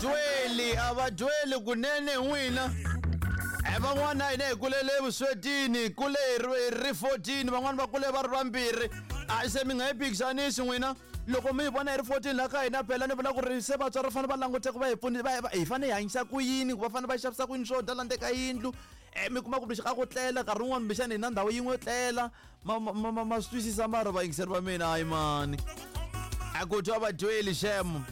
Dweli a va dweli kunene n'wina. Van'wana hina hi kulele evuswetini, hi kule hi ri 14, van'wana va kule va ri vambirhi. A se mi nga yi phikisanisi n'wina. Loko mi hi vona hi ri 14 la ka hina phela ni vula ku ri se vatswari va fanele va languteka va hi pfuni va hi fanele hi hanyisa ku yini, va fanele va xavisa ku yini swo dya la ndzeni ka yindlu. Mi kuma ku ka ku tlela nkarhi wun'wani kumbexana hi na ndhawu yin'we yo tlela. Ma swi twisisa mara vayingiseri va mina hayi mani. A ku twa vadyeli xem.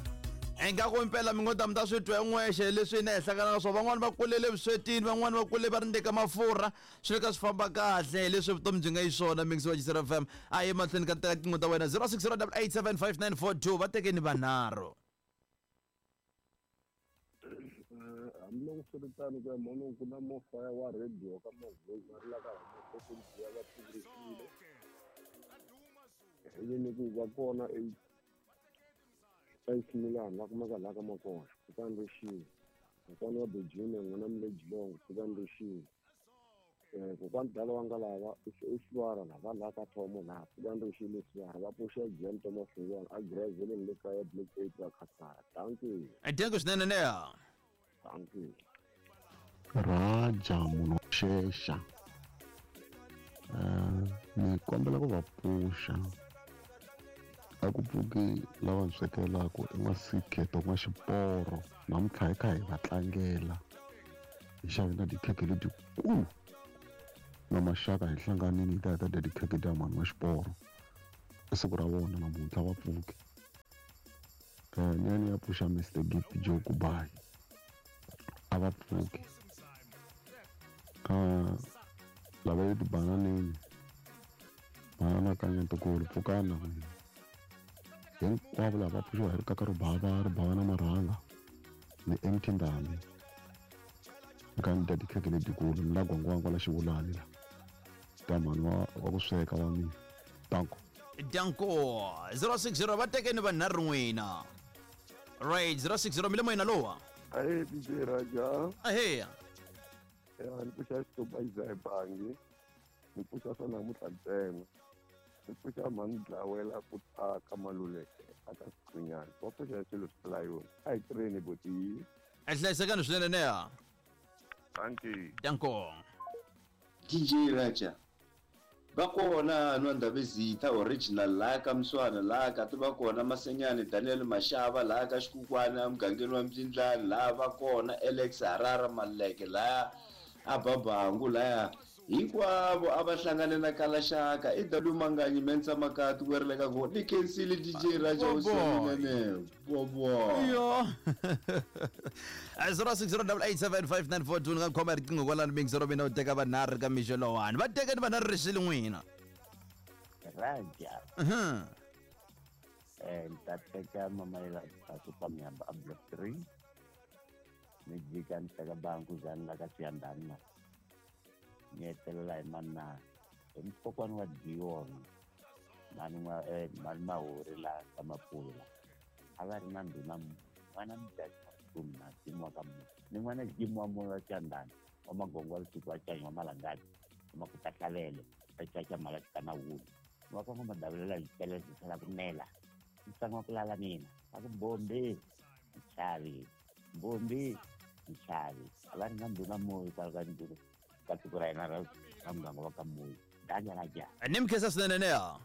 Ingaku impela mi ngo ta mi ta swi twa n'wexe leswi hina hi hlangana na swona. Van'wani va kulele vuswetini, van'wani va kule va ri ndzeni ka mafurha. Swi le ka swi famba kahle hi leswi vutomi byi nga xiswona. Mix wa Jisera FM. A hi mahlweni ka teka tinqingho ta wena 0608875942 va tekeni vanharhu. Hambiloko swi ri tano ku ya mhani ku na mofaya wa radio ka mavhezi va ri la ka hina ya va pfurisile ivi ni ku va kona eXimilani va kumeka laha ka Makoxa kutani ri xini kokwana wa Bejina n'wina mi le Jilongo kutani ri xini kokwani dala wa nga lava i Sivara laha va laha ka Thomo laha kutani ri xini Sivara va pfuxa Jan Thomas Hlungwana a Graveleni le kaya Block 8 va Khasara. Dankie. Dankie swinene neha. Dankie. Raja munhu wa xexa ni kombela ku va pfuxa a ku pfuki lava ni swekelaka i n'wasikheto n'waxiporo namuntlha hi kha hi va tlangela hi xave na tikhekhe letikulu na maxaka hi hlanganini hi ta hi ta dya tikhekhe ta mhani wa xiporo i siku ra vona namuntlha va pfuki ni ya ni ya pfuxa Mr Gift Joe Kubayi a va pfuki lava le tibananeni banana ka ntukulu pfukana n'wina hinkwavo lava va pfuxiwa hi rikaka ro bava ri bava na marhanga ni MT Ndhambi ni kha ni dya tikhekhe letikulu ni la gwangwangwa la xivulani la ta mhani wa ku sweka wa mina danko. Danko 060 va tekeni vanharhu n'wina. Right 060 mi le moyeni lowa. Ahe DJ Raja. Ahe. Ya ni pfuxa xitupa xa bangi. Ni pfuxa swa namuntlha ntsena. Ni pfuxa mhani dlawela ku ta ka Maluleke aka Siqhunyana. Va pfuxa swilo swi layoni. A hi tirheni boti. Hlayisekani swinene neha. Dankie. Danko. DJ Raja. Va kona nwa Ndabezitha original laha ka Mswana laha ka ti va kona Masenyani Daniel Mashava laha ka Xikukwana emugangeni wa Mbyindlani laha va kona Alex Harara Maleke laha a Babangu laha hinkwavo a va hlangane na Kalaxaka i W Manganyi Mensa Makati ku ri le ka go ni khensile DJ Raja Bobo. Usominene bobo Yo. 0608875942 ni nga khoma riqingho kwalano mixero mina u teka vanharhu ka mixo lowani. Va tekeni vanharhu rixile n'wina. Raja. Ni ta teka mama yela Pasupa Miyamba a block 3. Ni jika ni teka banku zani la ka Siyandani la. Ni hetelela hi manana. Hi mukokwana wa Dion. Mani n'wa mani Mahori la ka Mapulo la. A va ri na ndhuna n'wana Mudyaxi wa Mtumi na Jimu wa ka Musa. Ni n'wana Jimu wa Moya wa Siyandani wa Magongo wa Lusuku wa Canyi wa Malangati wa Makuta Hlalele wa Caca Malati na Wulu. Ni wa ka N'wa-Madavulela hi tele byi tlhela ku nela. Ntsangu wa ku lala mina. Va ku Mbombi, Nchavi, Mbombi, Nchavi. A va ri na ndhuna Moyi kwala ka ndhuna ka tiko ra hina ra ra muganga wa ka Moyi. Danja Raja. Ni mi khensa swinene neha.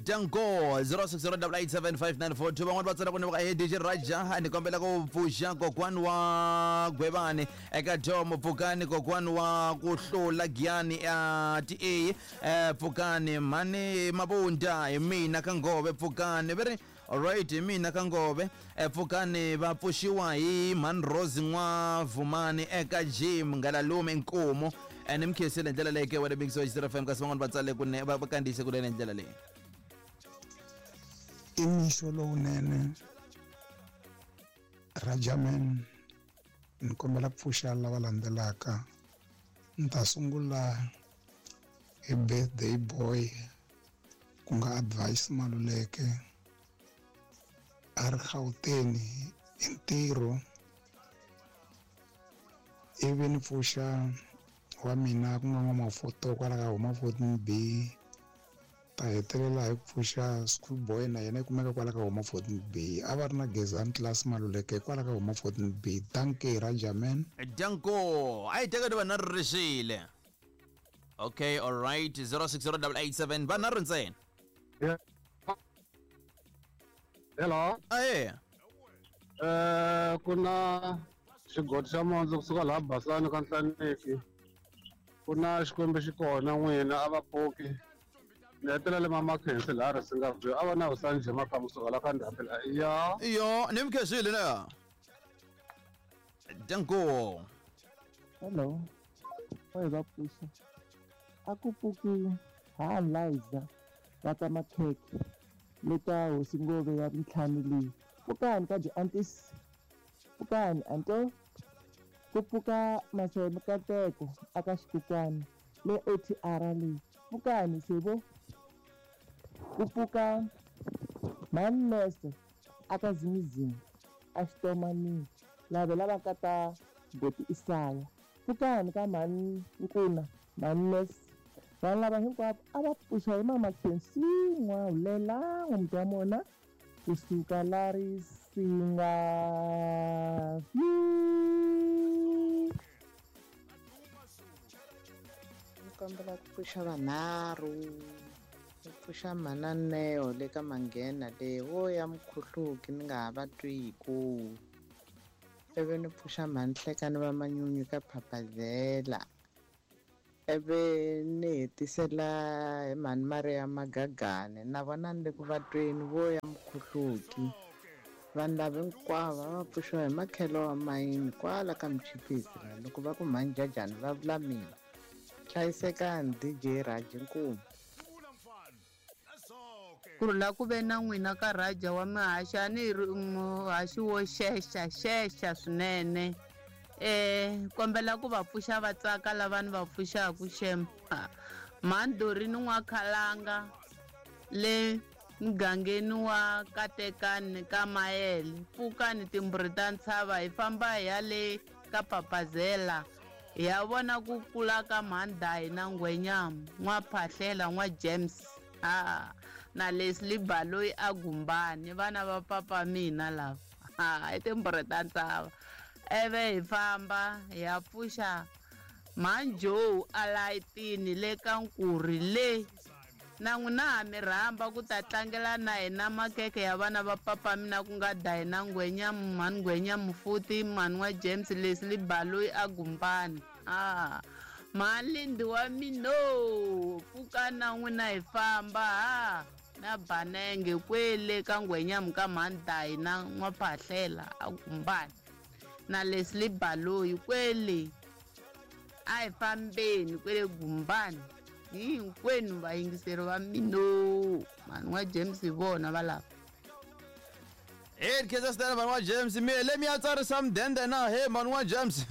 Danko 0608875942 van'wani va tsala ku ni va he DJ Raja ni kombela ku pfuxa kokwani wa Gwevani eka Tom pfukani kokwani wa ku hlula Giyani ya TA pfukani mhani Mabunda hi mina ka Ngove pfukani ve ri alright hi mina ka Ngove pfukani va pfuxiwa hi mhani Rose N'wa Vumani eka Jim Ngalalume Nkomo ni mi khensile hi ndlela leyi ke wena Big Soul FM kasi van'wani va tsale kunene va kandziyise kunene hi ndlela leyi. I mixo lowunene Rajaman ni kombela ku pfuxa lava landzelaka ni ta sungula hi birthday boy ku nga Advice Maluleke a ri Gauteng hi ntirho ivi ni pfuxa wa mina ku nga N'wamafoto kwala ka huma 14 B Ta hetelela hi ku pfuxa school boy na yena yi kumeka kwala ka homa 14 B. A va ri na Gezani class Maluleke kwala ka homa 14 B. Dankie Raja man. Danko a yi tekeni vanharhu rixile. Okay, all right, 060887 vanharhu ntsena. Hello. Aye. Ku na xigodi xa mondzu kusuka laha Basani ka Nhlaneki. Ku na Xikwembu xi kona n'wina a va pfuki. Ni hetelele mama Khensi laha Risinga View a va na Hosani Jema ka kusuka la ka Ndhambi la. Ya. Iyo, ni mi khensile na. Danko. Hello. Oi va pfuxa. A ku pfuki ha Liza va ka makhekhe le ka hosi Ngove ya ntlhanu leyi. Pfukani ka byi antis. Pfukani anto. Ku pfuka Maseve Mikateko aka Xikukwani le OTR leyi. Pfukani Sebo. Ku pfuka Mannese aka Zimizimi a Xitomanini lava lava ka ta Boti Isaya. Pfukani ka mhani Nkuna Mannese. Vanhu lava hinkwavo a va pfuxa hi mama Khensi N'wahulela n'wamuti wa mona kusuka la Risinga. Ni kombela ku pfuxa vanharhu. Ni pfuxa mhana Neo le ka Manghena le vo ya mukhuhluki ni nga ha va twiku. Ivi ni pfuxa mhani Hlekani va Manyunyu ka Phapazela. Ivi ni hetisela hi mhani Maria Magagane na vona ni le ku va tweni vo ya mukhuhluki. Vanhu lava hinkwavo va pfuxiwa hi makhelo wa mayini kwala ka Muchipisi la loko va ku mhani Jajani va vula mina. Hlayisekani DJ Raji Nkumu. Ku rhula ku ve na n'wina ka Raja wa mihaxi a ni ri muhaxi wo xexa xexa swinene. Kombela ku va pfuxa va tsaka lava ni va pfuxaku xem. Mhani Dorini N'wakhalanga le mugangeni wa Katekani ka Mayele. Pfukani timbhuri ta ntshava hi famba hi ya le ka Papazela. Hi ya vona ku kula ka mhani Dayi na Ngwenyama N'waphahlela N'wa James. Na Leslie Baloyi a Gumbani vana va papa mina lava. I timbhuri ta ntshava. Eve hi famba hi ya pfuxa mhani Joe a layitini le ka Nkurhi le. Na n'wina ha mi rhamba ku ta tlangela na hina makeke ya vana va papa mina ku nga Dayi na Ngwenyama mhani Ngwenyama futhi mhani wa James Leslie Baloyi a Gumbani. Mhani Lindi wa mino pfuka na n'wina hi famba ha na Banenge kwele ka Ngwenyama ka mhani Dayi na N'waphahlela a Gumbani na Leslie Baloyi kwele a hi fambeni kwele Gumbani hinkwenu vayingiseri va mino mhani wa James hi vona va lava. Hey, khensa swinene mhani wa James. Mi hele mi ya tsarisa mudende na he mhani wa James.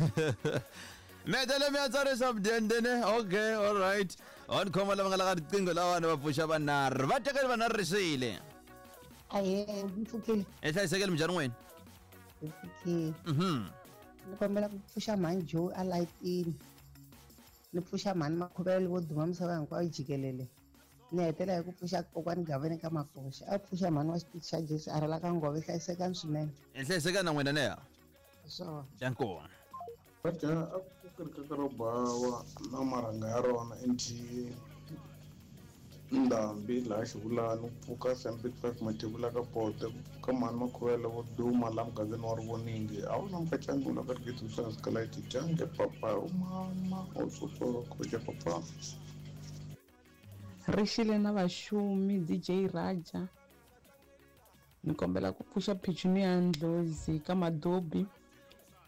Mi hetele mi ya tsarisa mudende ne. Okay, all right. On khoma lava nga la ka riqingho lawani va pfuxa vanharhu. Va tekeli vanharhu rixile. Ahee, mi pfukile. Hi hlayisekile minjhani n'wina? Hi pfukile. Ni kombela ku pfuxa mhani Joe a layitini. Ni pfuxa mhani Makhuvele vo duma misava hinkwayo jikelele. Ni hetela hi ku pfuxa kokwani Gaveni ka Makoxa. A pfuxa mhani wa xitichi xa Jesu a rhela ka Ngove hlayisekani swinene. Hi hlayisekani na n'wina neya. Swona. Danko. Raja a ku ri kaka ro bawa na marhanga ya rona NTA Ndhambi laha Xivulani ku pfuka Sam Big Five Mathebula ka Pote ku pfuka mhani Makhuvele vo duma laha mugangeni wa Rivoningi a wu na mukacani la ka rigidi swa Skylight dyange papa u mama u sotsoko papa. Rixile na vaxumi DJ Raja. Ni kombela ku pfuxa Petunia Ndlozi ka Madobi.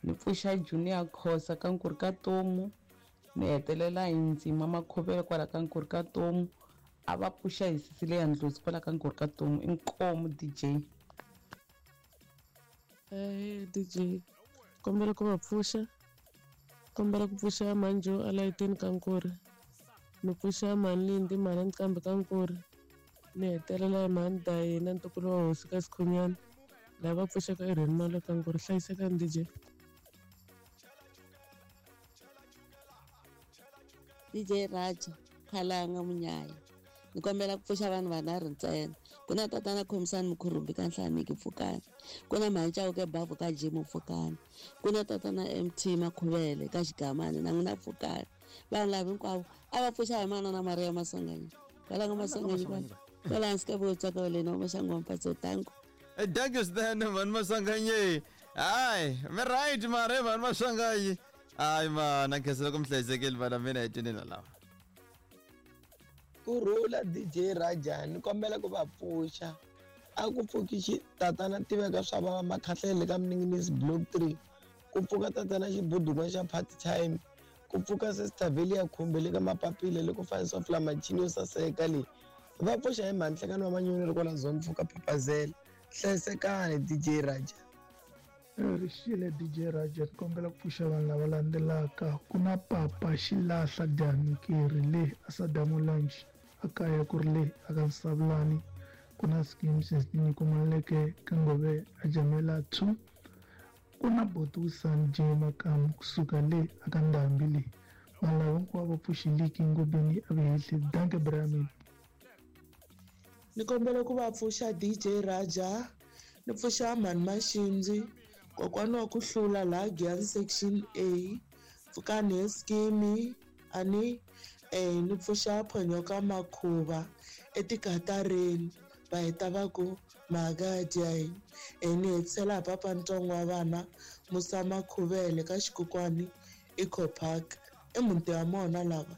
Ni pfuxa Junior Khosa ka Nkurhi ka Tomu. Ni hetelela hi Ndzima Makhuvele kwala ka Nkurhi ka Tomu. A va pfuxa hi Cecilia Ndlozi kwala ka Nkurhi ka Tomu. Inkomu DJ. DJ kombela ku va pfuxa. Kombela ku pfuxa Manjo a layitini ka Nkurhi. Ni pfuxa mhani Lindi mhani Nqambi ka Nkurhi. Ni hetelela hi mhani Dayi na ntukulu wa hosi ka Sikhunyana. Lava pfuxaka Irene Malo ka Nkurhi. Hlayisekani DJ. DJ Raja Khalanga Munyaya. Ni kombela ku pfuxa vanhu vanharhu ntsena. Ku na tatana Khomisani Mukhurumbi ka Nhlaniki pfukani. Ku na Mhani Chauke Bavhu ka Jimu pfukani. Ku na tatana MT Makhuvele ka Xigamani na n'wina pfukani. Vanhu lava hinkwavo a va pfuxa hi manana Maria Maswanganyi. Kwala ka Maswanganyi kwala. Kwala hansi ka Votswaka wa lena wa Maxangu wa Mpatso tanko. Thank you swinene mhani Maswanganyi. Hayi, mi right mara mhani Maswanganyi. Hayi mana khensa loko mi hlayisekile vana mina hi tinina lava. Kurhula DJ Raja ni kombela ku va pfuxa a ku pfuki xi tatana tiveka swa vava makhahlele ka Mninginisi block 3 ku pfuka tatana xibudukwa xa party time ku pfuka sister Velia Khumbe le ka mapapila le ku fanisa fula machini yo saseka leyi va pfuxa hi mhani nhlekani wa manyoni ri kwala zone pfuka phaphazela hlayisekani DJ Raja. Rixile DJ Raja ni kombela ku pfuxa vanhu lava landzelaka ku na papa xilahla Danikeri le Asadamu Lounge a kaya ku ri le aka Nsavulani ku na schemes Nyiko Maluleke ka Ngove a Jamela 2 ku na Botusan J Makamu kusuka le aka Ndhambi le vanhu lava hinkwavo va pfuxiliki Ngobeni a Vehehli danke Brahmin. Ni kombela ku va pfuxa DJ Raja ni pfuxa Mhani Maxindzi kokwana wa ku hlula laha Giyani section A pfukani hi skimi ani ni pfuxa Phonyoka Makhuva etikatareni va heta va ku mhaka dya ni hetisela hi papa ntsongo wa vana Musa Makhuvele ka Xikukwani Eco Park i muti wa mona lava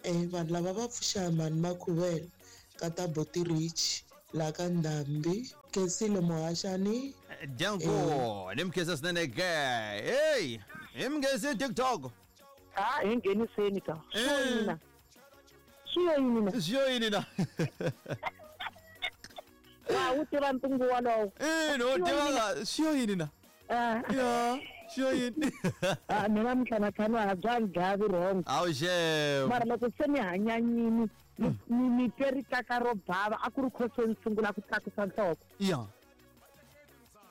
vanhu lava va pfuxa Mhani Makhuvele ka ta Boti Rich la ka Ndhambi Khensile Muhaxani. Danko ni mi khensa swinene ke hey hi mi nghenisi TikTok ha hi ngheniseni ka swi yini na swi yo yini na swi yo yini na wa wu tiva ntungu wolowo ina u tiva swi yo yini na ya swi yo yini mina mintlhanatlhanu a bya ni dlaya vurhongo awu xew mara loko se ni hanyanyini ni twe rikaka ro bava a ku ri khoso ni sungula ku tlakusa nhloko ya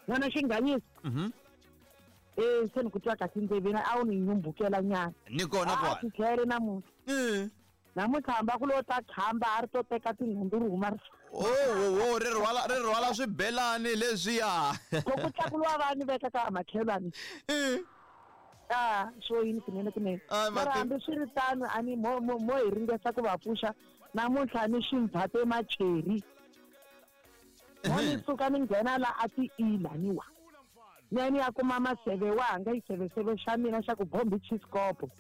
n'wana xinghanyisa se ni ku twa kahle ndleveni a wu ni nyumbukela nyana ni kona kwala ti tlhele namuntlha namuntlha hamba ku lo ta khamba a ri to teka tinhundzu ri huma o ri rhwala ri rhwala swibelani leswiya loko tlakuliwa va ni veka ka makhelwani a swo yini kunene kunene mara hambi swi ri tano a ni mo mo mo hi ringesa ku va pfuxa namuntlha ni ximvate macheri mo ni suka ni nghena la a ti ilaniwa ni ya ni ya kuma maseve wanga xiseveseve xa mina xa ku bombi chiskopo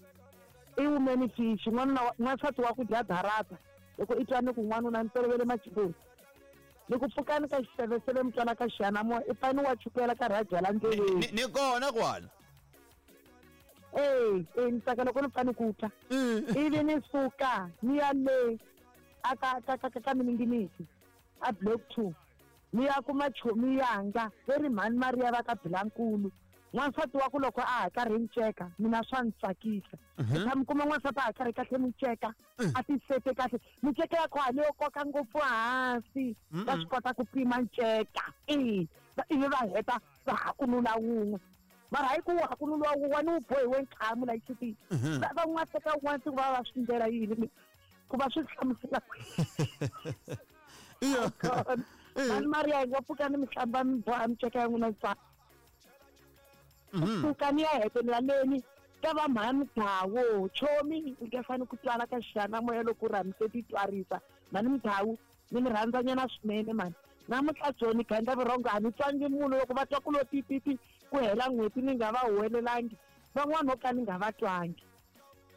i wumeni fishi n'wanuna n'wansati wa ku dya darata loko i twa ni ku n'wanuna ni tolovele machiposi ni ku pfukani ka xiseveseve mi twala ka xiyanimoya i fane wa chukela ka rhajala ndleleni ni kona kwala e ni tsaka loko ni pfa ni ku twa ivi ni suka ni ya le a ka ka ka ka mininginisi a block 2 ni ya kuma chomi yanga leri mhani Maria va ka Bilankulu n'wansati wa ku loko a ha karhi nceka mina swa ni tsakisa mi kuma n'wansati a ha karhi kahle miceka a tisete kahle miceka ya kona leyo koka ngopfu hansi va swi kota ku pima nceka ivi va heta va hakunula wun'we mara hayi ku hakunula wun'we ni wu bohiwe nkhamu la xitini va n'wateka wun'wana siku va va swi ndlela yini ku va swi hlamusela mhani Maria hi nga pfuka ni mi hlamba mi boha miceka ya n'wina tsaka pfuka ni ya hetelela leni ka va mhani Mudhawu chomi u nge fani ku twala ka xiyanimoya loko u rhamise ti twarisa mhani Mudhawu ni mi rhandzanyana swinene mhani namuntlha joni gandla vurhongo a ni twangi munhu loko va twa ku lo tititi ku hela n'hweti ni nga va huwelelangi van'wana vo ka ni nga va twangi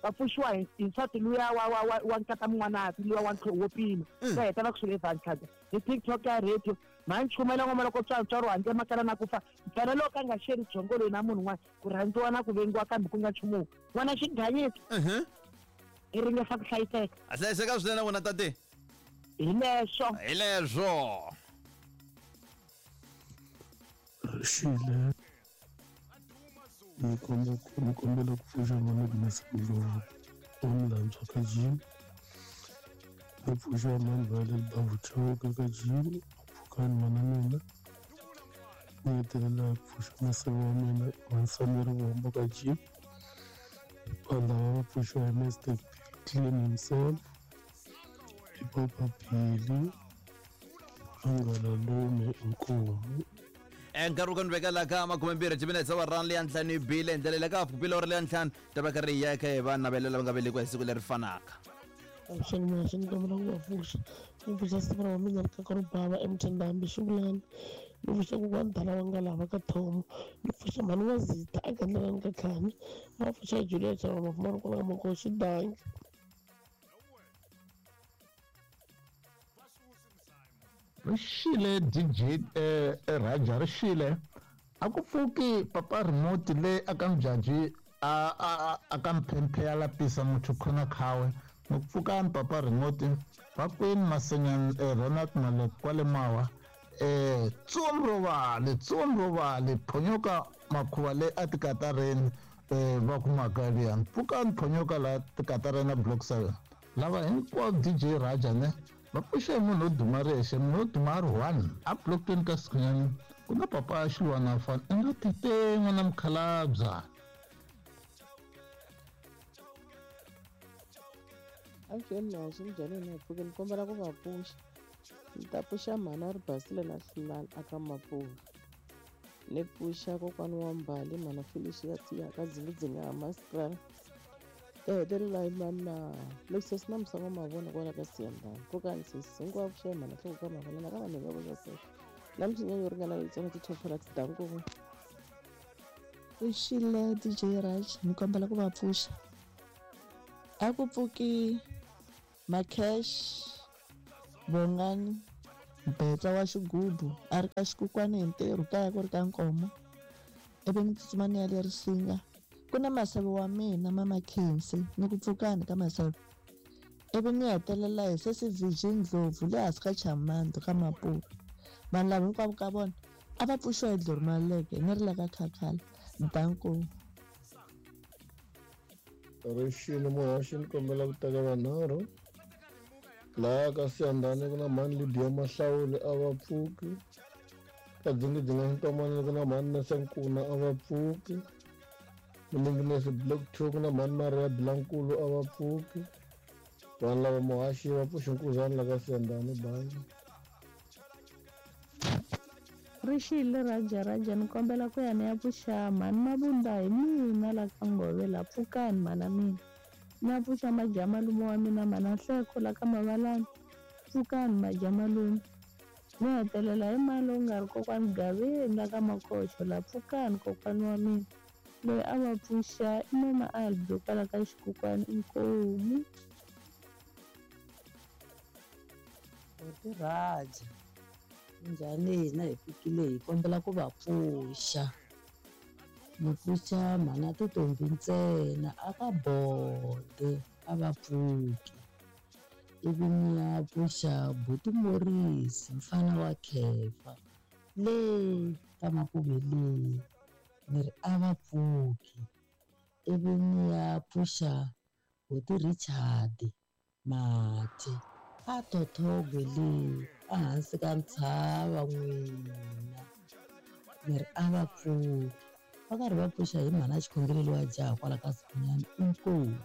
va pfuxiwa hi nsati luya wa wa wa wa nkata mun'wanati luya wa ntlho wo pima va heta va ku swi le hi TikTok ya radio mhani chumela ngoma loko tswatswari handle makala na ku fa mfana loko a nga xeri byongo loyi na munhu un'wana ku rhandziwa na ku vengiwa kambe ku nga nchumu n'wana xinghanyisa i ringesa ku hlayiseka a hlayiseka swinene n'wina tate hi leswo hi leswo Rixile ni kombela ku pfuxa n'wana Agnes Ndlovu wa Mulandzwa ka Jim ni pfuxa mhani Violet Bavu Chauke ka Jim pfukani mana mina ni hetelela ku pfuxa maseve wa mina Mansamiri Vombo ka Jim vanhu lava va pfuxiwa hi Mr Clean himself I Papa Billy Angalalume inkomu. Nkarhi wu ka ni veka la ka 20 timinetse wa rand leya ntlhanu yi bile hi ndlela le ka bile ori leya ntlhanu ta va karhi hi ya eka hi va navelela va nga velekiwa hi siku leri fanaka. Avuxeni muhaxi, ni kombela ku va pfuxa. Ni pfuxa siku ra mina ri kaka ro bava eMthandambi xivulani. Ni pfuxa kokwani Dala wa nga lava ka Thomo. Ni pfuxa mhani wa Zita a Gandlelani ka Khami. Va pfuxa Julia Chava Mafumani kwala ka Makoxi danki. Ri xile DJ Raja ri xile a ku pfuki papa remote le aka mjaji a a a ka mphemphe ya lapisa muthu khona khawe ni ku pfukani papa remote va kwini masenyan Ronald Malek kwale mawa tsumu ro vale tsumu ro vale phonyoka makhuva le a tikatareni va ku mhaka liyani pfukani phonyoka la tikatareni block 7 lava hinkwavo DJ Raja ne va pfuxe hi munhu wo duma rexe munhu wo duma a ri one a blockeni ka sikhunyani ku na papa a xilwana fana i nga tite n'wana mukhalabya. Avuxeni muhaxi minjhani hina hi pfuke ni kombela ku va pfuxa ni ta pfuxa mhani a ri basile na hlulani aka Mapula ni pfuxa kokwani wa Mbali mhana Felicia ya ka Dzingidzingha ha Masipala ta hetelela hi mani na loko sesi na Musango Mavona kwala ka Siyandhani pfukani sesi hinkwavo pfuxa hi mhana nhloko ka mavona na ka vanhu hinkwavo va sesi na misinya yo ringana leyitsongo ti-top products danko. Pfuxile DJ Raj ni kombela ku va pfuxa a ku pfuki Macash Bongani Mbetsa wa xigubu a ri ka xikukwani hi ntirho kaya ku ri ka Nkomo ivi ni tsutsuma ni ya le Risinga ku na maseve wa mina mama Khensi ni ku pfukani ka maseve ivi ni hetelela hi sesi Virgin Ndlovu le hansi ka Chamando ka Mapula vanhu lava hinkwavo ka vona a va pfuxiwa hi Dlori Maluleke ni ri la ka Khakhala danko. Rixile muhaxi ni kombela ku teka vanharhu laha ka Siyandhani ku na mhani Lydia Mahlawuli a va pfuki ka Dzingidzinga Ntomani ku na mhani Nesenkuna a va pfuki Mininginisi block 2 ku na mhani Maria Bilankulu a va pfuki vanhu lava muhaxi va pfuxi nkuzani la ka Siyandhani bayi. Rixile Raja Raja ni kombela ku ya ni ya pfuxa mhani Mabunda hi mina la ka Ngove la pfukani mhana mina ni ya pfuxa majamalume wa mina mhana Nhleko la ka Mavalani pfukani majamalume ni hetelela hi mali lowu nga ri kokwani Gaveni la ka Makoxo la pfukani kokwani wa mina loyi a va pfuxa i mama Albi kwala ka xikukwani inkomu. Buti Raja minjhani hina hi fikile hi kombela ku va pfuxa ni pfuxa mhana Titombi ntsena a ka bode a va pfuki ivi ni ya pfuxa buti Morris mfana wa Khefa le ka Makuve le ni ri a va pfuki ivi ni ya pfuxa buti Richard Mathe a Thothogwe le ehansi ka ntshava n'wina ni ri a va pfuki va karhi va pfuxa hi mhana xikhongelo lowa jaha kwala ka Sikhunyani inkomu.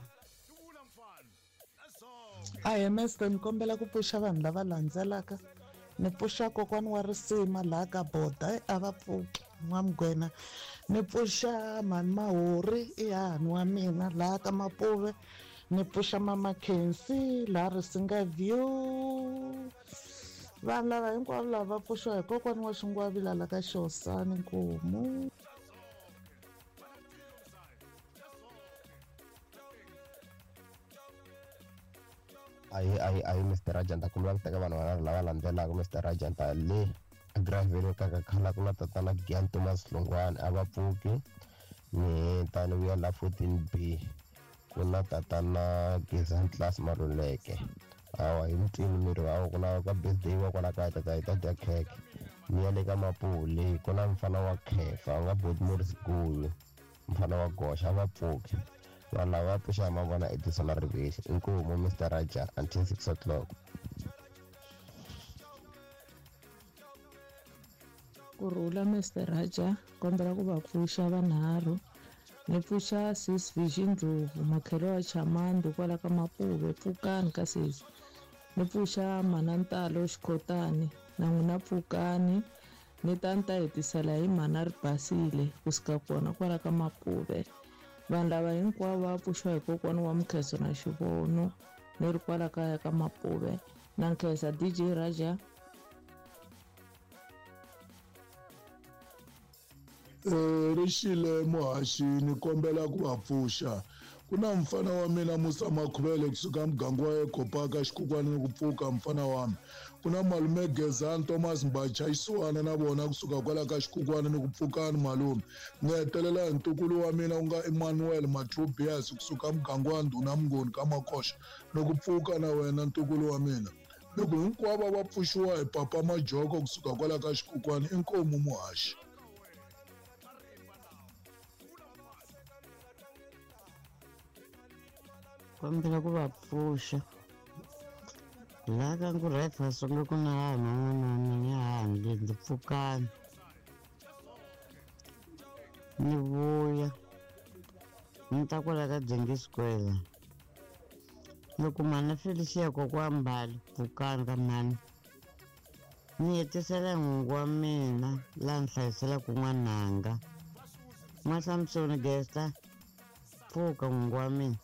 Ahee mester ni kombela ku pfuxa vanhu lava landzelaka ni pfuxa kokwani wa risima laha ka boda a va pfuki n'wamugwena ni pfuxa mhani Mahori i hahani wa mina laha ka Mapuve ni pfuxa mama Khensi laha Risinga View vanhu lava hinkwavo lava va pfuxiwa hi kokwani wa Xingwavila la ka Xihosani Nkomu. Ayi ayi ayi Mr Rajanta kombela ku teka vanhu vanharhu lava landzelaka Mr Rajanta le Gravelo ka khala ku na tatana Gian Thomas Hlongwane a va pfuki ni heta ni vuya la 14B ku na tatana Gezani Class Maluleke hawa hi mutini miri hawa ku na ka birthday wa kwala kaya tata hi ta dya khekhe ni ya le ka Mapule ku na mfana wa Khefa u nga Boti Morris Guyu mfana wa Goxa a va pfuki vanhu lava va pfuxa hi mavona Edison na Rivexi inkomu Mr Raja until 6 o'clock. Kurhula Mr Raja kombela ku va pfuxa vanharhu ni pfuxa sis Vision Ndlovu makhelo wa Chamando kwala ka Mapuve pfukani ka sesi Ni pfuxa mhana Ntalo Xikhotani na n'wina pfukani. Ni ta ni ta hetisela hi mhana Ribasile kusuka kona kwala ka Mapuve. Vanhu lava hinkwavo va pfuxiwa hi kokwana wa Mukheso na Xivono ni ri kwala kaya ka Mapuve. Na nkhensa DJ Raja. Rixile muhaxi ni kombela ku va pfuxa ku na mfana wa mina Musa Makhuvele kusuka muganga wa Ekopaka xikukwana ni ku pfuka mfana wami ku na malume Gezani Thomas Mbacha Xisiwana na vona kusuka kwala ka xikukwana ni ku pfukani malume ni hetelela hi ntukulu wa mina ku nga Emmanuel Mathubias kusuka muganga wa Ndhuna Mnguni ka Makoxa ni ku pfuka na wena ntukulu wa mina loko hinkwavo va pfuxiwa hi papa Majoko kusuka kwala ka xikukwana inkomu muhaxi. Kombela ku va pfuxa laha ka nku rifle ku na vanhu van'wana wa mina handle ndzi pfukani ni vuya ni ta kwala ka Dzengi Square loko mhani Felicia kokwa Mbali pfukani ka mhani ni hetisela nhungu wa mina laha ni hlayiselaka n'wananga N'wa-Samsoni Gesta pfuka n'wingi wa mina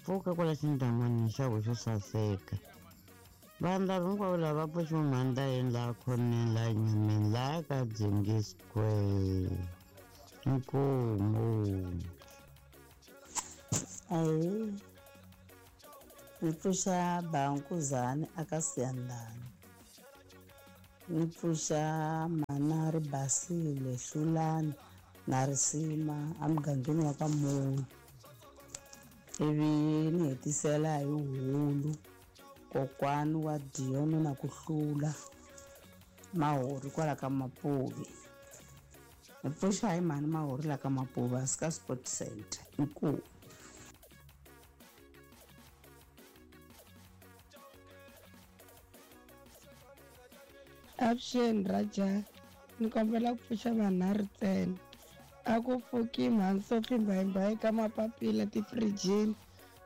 pfuka kwala xindyangwini xa wena xo saseka vanhu lava hinkwavo lava va pfuxiwa mhani ta yini laha khoneni laha nyameni laha ka Dzengi Square inkomu. Ahee, ni pfuxa Bankuzani aka Siyandhani, ni pfuxa Mhana Ribasile Hlulani na Risima emugangeni wa ka Munhu, ivi ni hetisela hi Hulu kokwani wa Dion na ku hlula Mahori kwala ka Mapuve. Ni pfuxa hi mhani Mahori la ka Mapuve a ka Sport Center. Inkomu. Avuxeni Raja, ni kombela ku pfuxa vanharhu ntsena. A ku pfuki mhani Sophie Mbayimbayi ka mapapila tifirijini,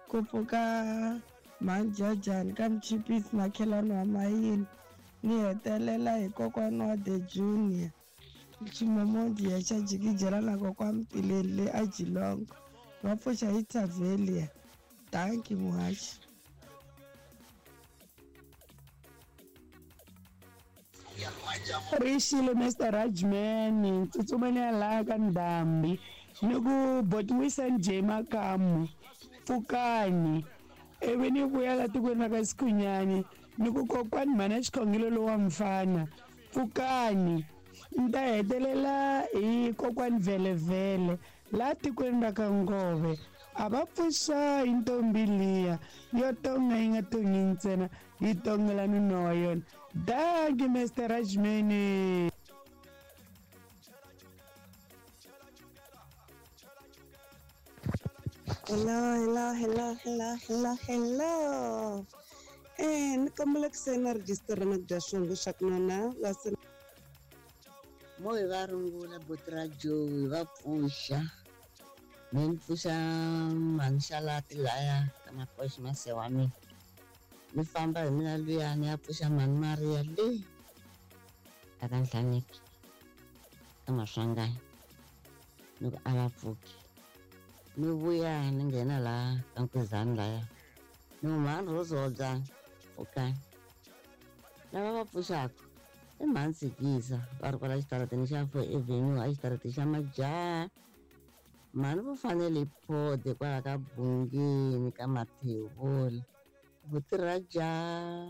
ku pfuka mhani Jajani ka Mchipisi makhelwani wa Mayini, ni hetelela hi kokwana wa The Junior Ximomondiya xa jikijela na kokwa Mtileni le a Jilongo. Va pfuxa hi Tavelia. Dankie muhaxi. Rixile Mr Rajman tsutsumeni ya laha ka ndhambi ni ku botiwisa njhe makamu pfukani ivi ni vuya la tikweni ra ka Sikhunyani ni ku kokwani mhana xikhongelo lowa mfana pfukani ni ta hetelela hi kokwani vhelevhele laha tikweni ra ka Ngove a va pfuxa hi ntombi liya yo tonga yi nga tongi ntsena yi tongela nuna wa yona. Dankie Mr Rajmani. Hello, hello, hello, hello, hello, hello. Ni kombela ku sayina register na ku dya swongo swa ku nona va se Mo hi va rungula buti ra Joe hi va pfuxa me ni pfuxa mhani Xalati laya ka Makoxi mase wa mina ni famba hi mina luya ni ya pfuxa mhani Maria le a ka Nhlaneki ka Maswanganyi ni ku a va pfuki ni vuya ni nghena laha ka Nkwezani laya ni ku mhani Rose Hobyani pfukani lava va pfuxaka i mhani Tsikisa va ri kwala xitarateni xa Four Avenue a xitarateni xa Majaha mhani vo fanele hi phode kwala ka Bungeni ka Mathevula buti ra jaha.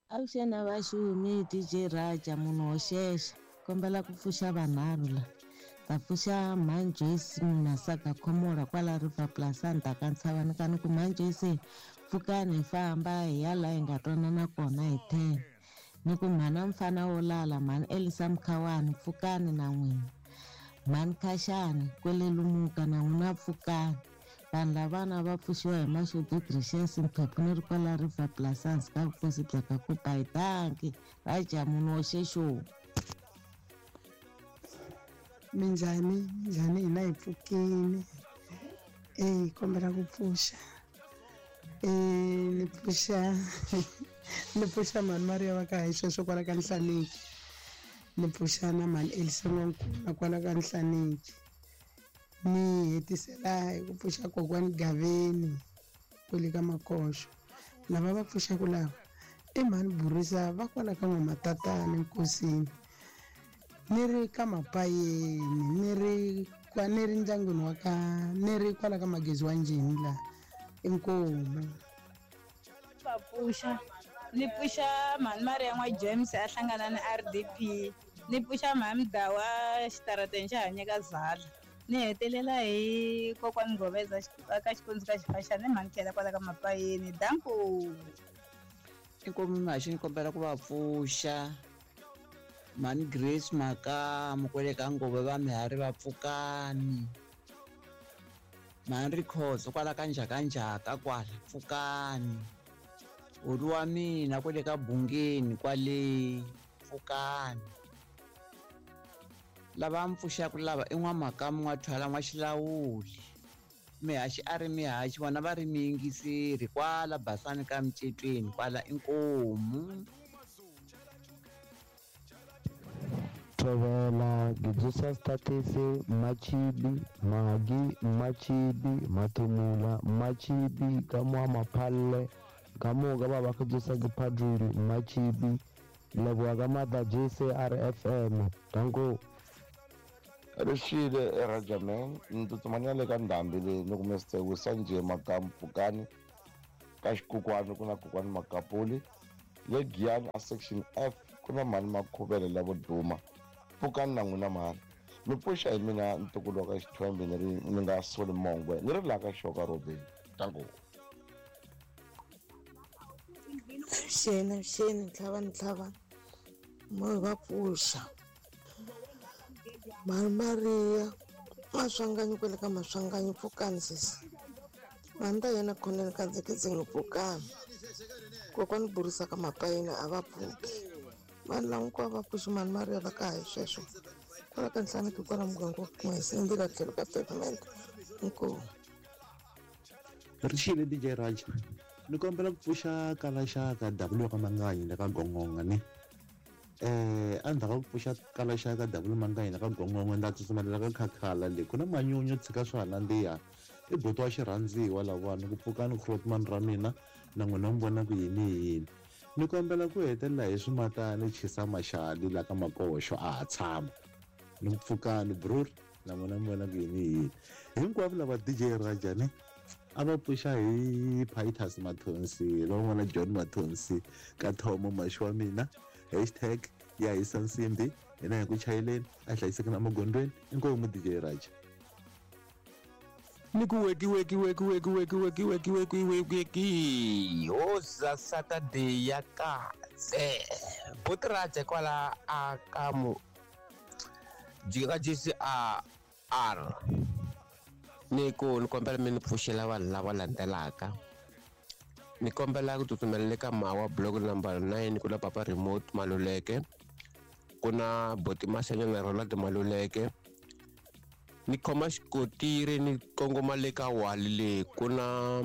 Avuxeni a vaxumi DJ Raja munhu wo xexa kombela ku pfuxa vanharhu la ta pfuxa mhani Joyce Munasaka Khomola kwala River Plaza ndzhaku ka Ntshavani ka ni ku mhani Joyce pfukani hi famba hi ya laha hi nga twanana kona hi 10 ni ku mhana mfana wo lala mhani Elisa Mkhawani pfukani na n'wina mhani Khashani kwele Lumuka na n'wina pfukani vanhu lavana va pfuxiwa hi Mashudu Gracious Mphephu ni ri kwala River Plaza hansi ka vukosi bya ka Kupayi. Dankie Raja munhu wo xexo. Minjhani, minjhani hina hi pfukile. Kombela ku pfuxa. Ni pfuxa ni pfuxa mhani Maria va ka hi sweswo kwala ka Nhlaneki. Ni pfuxa na mhani Elisa N'wankuna kwala ka Nhlaneki. Ni hetisela hi ku pfuxa kokwani Gaveni kwele ka Makoxo. Lava va pfuxaka lava i mhani Burisa va kwala ka N'wamatatana Nkosini. Ni ri ka Mapayeni ni ri kwa ni ri ndyangwini wa ka ni ri kwala ka Magezi wa Njhini laha inkomu. Va pfuxa ni pfuxa mhani Maria n'wa James a hlangana ni RDP ni pfuxa mhani Dawa xitarateni xa hanyeka Zala ni hetelela hi kokwani Ngoveza ka xikundzu ka Xifaxani ni mhani Khela kwala ka Mapayeni danko. Inkomu Mhaxi ni kombela ku va pfuxa mhani Grace Makamu kwele ka Ngove va Mihari va pfukani, mhani Rikhozo kwala ka Njhakanjhaka kwala pfukani, holi wa mina kwele ka Bungeni kwale pfukani. Lava mi pfuxaka lava i N'wamakamu N'wathwala N'waxilawuli, Mihaxi a ri mihaxi vona va ri miyingiseri kwala Basani ka Micetweni kwala inkomu. Thovela Gidzusa Statese Machibi Magi Machibi Matumula Machibi ka moa Maphalle ka moo ka ba ba Gidzusa ke Phaduli Machibi leboa ka maatla JCRFM danko. Rixile Rajaman ni tsutsumani ya le ka ndhambi leyi ni kume Sitewisa njhe Makamu Pfukani ka xikokwani ku na kokwani Makapuli le Giyani a section F ku na mhani Makhuvele lavo duma pfukani na n'wina mhani mi pfuxa hi mina ntukulu wa ka Xithwembe ni ri ni nga soli mongwe ni ri laha ka Xoka Robeni danko. Xena xeni ntlhava ntlhava mo va pfuxa mhani Maria Maswanganyi kwele ka Maswanganyi pfukani sesi mhani ta yena khoneni ka ndzeketseni pfukani kokwani Burisa ka Mapayeni a va pfuki vanhu lava hinkwavo va pfuxi mhani Maria va ka hi sweswo kwala ka Nhlaneki kwala muganga wa kuma hi sindzila tlhelo ka pavement inkomu. Rixile DJ Raja ni kombela ku pfuxa kalaxaka W ka Manganyi le ka Gongonga ni endzhaku ka ku pfuxa kalaxaka W Manganyi le ka Gongonga ndza tsutsumelela ka Khakhala le ku na manyunyu tshika swa nandziha i buti wa xirhandziwa lavawani ku pfukani Grootman ra mina na n'wina mi vona ku yini yini ni kombela ku hetelela hi swimatani chisa maxali la ka Makoxo a ha tshama ni ku pfukani brur na n'wina mi vona ku yini yini hinkwavo lava DJ Raja ni a va pfuxa hi Pitus Mathonsi lowun'wana John Mathonsi ka Thomo maxi wa mina hashtag ya hisa nsimbi hina hi ku chayeleni a hlayisekeni emagondzweni inkomu DJ Raja. Ni ku weki weki weki weki weki weki weki weki weki weki hoza Saturday ya kahle buti Raja kwala a ka mu jika ka JCR ni ku ni kombela mi ni pfuxela vanhu lava landzelaka ni kombela ku tsutsumela le ka Mawa block number 9 ku na Papa Remote Maluleke ku na Boti Masenya na Ronald Maluleke ni khoma xikotiri ni kongoma le ka Wali le ku na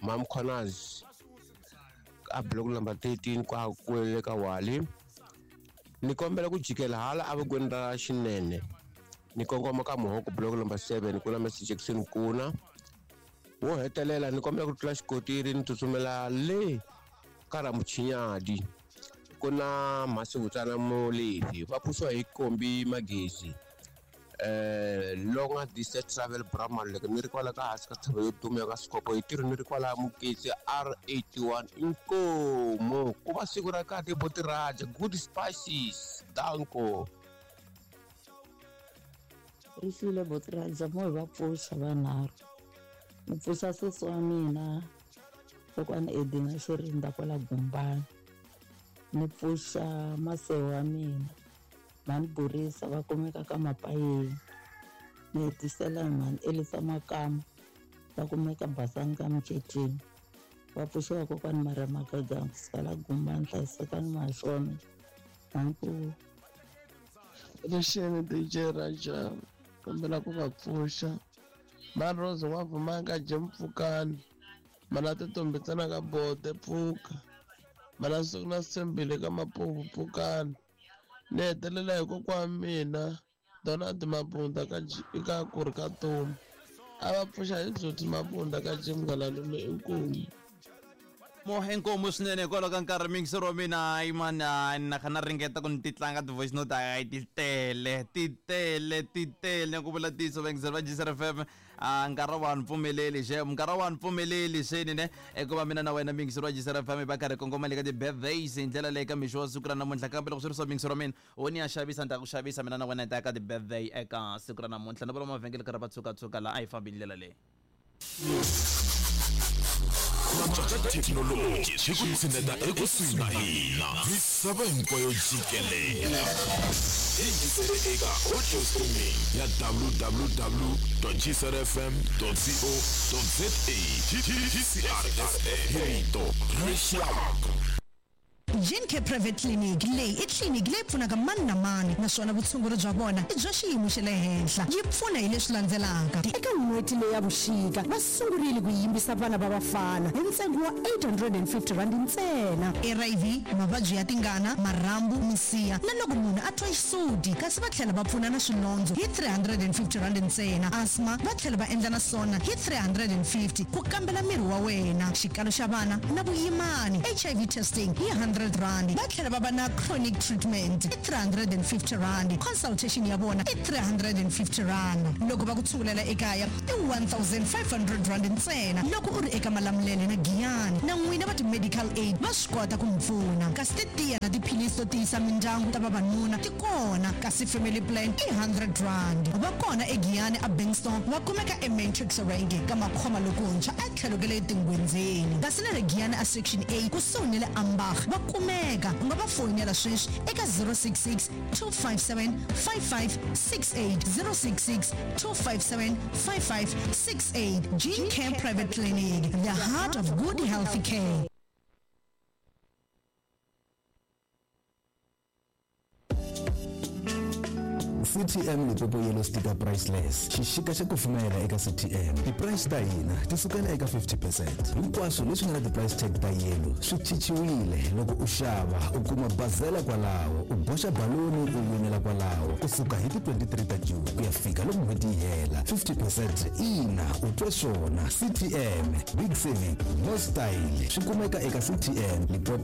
Mam Connors a block number 13 kwa kwele ka Wali ni kombela ku jikela hala evokweni ra xinene ni kongoma ka Muhoko block number 7 ku na Mr Jackson Kuna wo hetelela ni kombela ku tlula xikotiri ni tsutsumela le ka Ramuchinyadi ku na Masivutsana Molefi va pfuxiwa hi Kombi Magezi Longa Distance Travel Brahman loko ni ri kwala ka hansi ka tshava yo duma ya ka Sikopo hi tirhi ni ri kwala Muketse R81 inkomu ku va siku ra kahle buti Raja good spices danko. Rixile buti Raja mo hi va pfuxa vanharhu ni pfuxa sesi wa mina kokwani Edina Xirinda kwala Gumbani ni pfuxa masewu wa mina mhani Burisa va kumeka ka Mapayeni ni hetisela hi mhani Elisa Makamu va kumeka Basani ka Miceteni va pfuxiwa kokwani Maria Magaga kusuka la Gumbani hlayisekani Maxone danko. Rixile DJ Raja kombela ku va pfuxa Mhani Rose N'wavumanga Jim Pfukani Mana Tintombi ntsena ka Bote pfuka. Mana Siku na Sitshembile ka Mapuvu pfukani. Ni hetelela hi kokwa wa mina Donald Mabunda ka ka ku ri ka Tomu. A va pfuxa hi Dzudzi Mabunda ka Jim Ngalalume inkomu. Mo inkomu swinene hikwalaho ka nkarhi miyingiseri wa mina hayi mani hayi na kha na ringeta ku ni ti tlanga ti-voice note hayi ti tele ti tele ti tele ku vula ntiyiso vayingiseri va G_C_R F_M a nkarhi wa ni pfumeleli xem nkarhi wa ni pfumeleli seni ne hikuva mina na wena miyingiseri wa G_C_R F_M hi va karhi kongoma le ka ti-birthdays hi ndlela leyi ka mixo wa siku ra namuntlha kambe loko swi ri swa miyingiseri wa mina wo ni ya xavisa ni ta ku xavisa mina na wena hi ta ya ka ti-birthday eka siku ra namuntlha ni vula mavhengele karhi va tshukatshuka laha a hi fambi hi ndlela leyi. Antswa ka thekinoloji swi ku tshineta ekusuhi na hina misava hinkwayo jikelela. Yingisele eka audio streaming ya www.gcrfm.co.za GCRFM hi rito ra rixaka. Gencare Private Clinic leyi i tliliniki leyi pfunaka mani na mani naswona vutshunguri bya vona i bya xiyimo xa le henhla. Yi pfuna hi leswi landzelaka. Eka n'hweti leyi ya vuxika, va sungurile ku yimbisa vana va vafana hi ntsengo wa R850 ntsena. HIV, mavabyi ya tingana, marhambu, misiha na loko munhu a twa xisuti kasi va tlhela va pfuna na swilondzo hi R350 ntsena. Asthma va tlhela va endla na swona hi R350 ku kambela miri wa wena, xikalo xa vana na vuyimani, HIV testing hi R100. Va tlhela va va na chronic treatment i R350, consultation ya vona i R350. Loko va ku tshungulela ekaya i R1500 ntsena loko u ri eka Malamulele na Giyani. Na n'wina va ti-medical aid va swi kota ku mi pfuna. Kasi titiya na tiphilisi to tiyisa mindyangu ta vavanuna ti kona, kasi family plan i R100. Va kona eGiyani aBankstone, va kumeka eMatrix Range ka Makhoma lokuntshwa etlhelo ka le Tingwenzeni. Kasi na le Giyani a Section A kusuhi ni le Ambach va kumeka. U nga va foyinela sweswi eka 066 257 5568, 066 257 5568. Gene Care Private Clinic, the heart of good healthy care. CTM Limpopo Yellow Sticker Priceless xixika xa kufumela eka CTM ti-price ta hina ti sukela eka 50 percent hinkwaswo leswi nga na ti-price tag ta yellow swi chichiwile loko u xava u kuma bazela kwalaho u boxa baloni u winela kwalaho kusuka hi ti-23 ta June ku ya fika loko n'hweti yi hela 50 percent ina u twe swona CTM big saving no style swi kumeka eka CTM Limpopo.